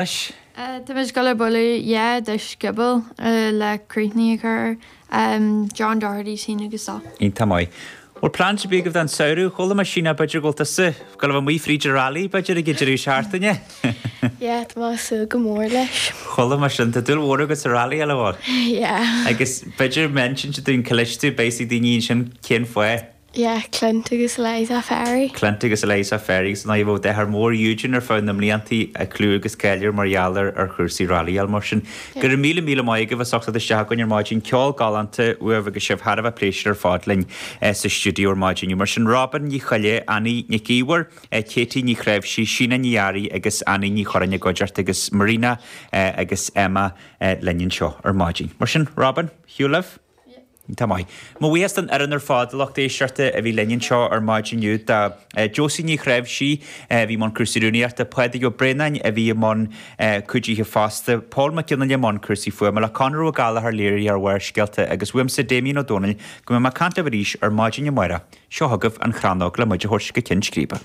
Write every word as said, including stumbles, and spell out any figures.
Leis. Tá muid ag dul ag bualadh dhá duais scioból le cruithní a chur air, John Doherty, Síne agus Dó. Iontach maith. Bhfuil plean ar bith agaibh don samhradh? Chuala mé Síne b'fhéidir go bhfuil tusa ag dul a bheith amuigh fríd an rally b'fhéidir ag an deireadh seachtaine? Yeah, tá mé ag súil go mór leis. Chuala mé sin. Tá dúil mhór agat sa rally, an bhfuil? Yeah. Agus b'fhéidir má insíonn tú dúinn cá leis tú, beidh a fhios ag daoine ansin cén fáth. Yeah, Clint agus Eliza Ferry. Clint agus Eliza Ferry agus an bhfuil deartháir mór Eugene ar feadh na mblianta ag clú agus cáil air mar gheall ar ar chúrsaí rallyáil mar sin. Go raibh míle míle maith agaibh as ucht a theacht isteach chugainn ar maidin ceol galánta uaibh agus sibh thar a bheith pléisiúrtha ar fad linn sa stiúideo ar maidin inniu. Mar sin Robin Ní Choille, Annie Nic Íomhair, Katie Ní Chreimhsí, Síne Ní Fhearraigh agus Annie Ní Churráin i gcuideachta agus Marina agus Emma linn anseo ar maidin. Mar sin Robin, shiúil libh? Tá maith. Mo bhuíochas don fhoireann ar fad, a lucht éisteachta a bhí linn anseo ar maidin inniu, do Josie Ní Chreimhsí a bhí i mbun cúrsaí rúnaíochta, Pádraig Ó Braonáin a bhí i mbun cuidithe fosta, Pól Mac Fhionnghaile i mbun cúrsaí fuaime, le Conor Ó Gallchóir léiritheoir Bharrscéalta agus uaimse Damien Ó Dónaill go mbeidh mé ag caint libh arís ar maidin amárach. Seo chugaibh an Chrannóg le muid a thabhairt go ceann scríbe.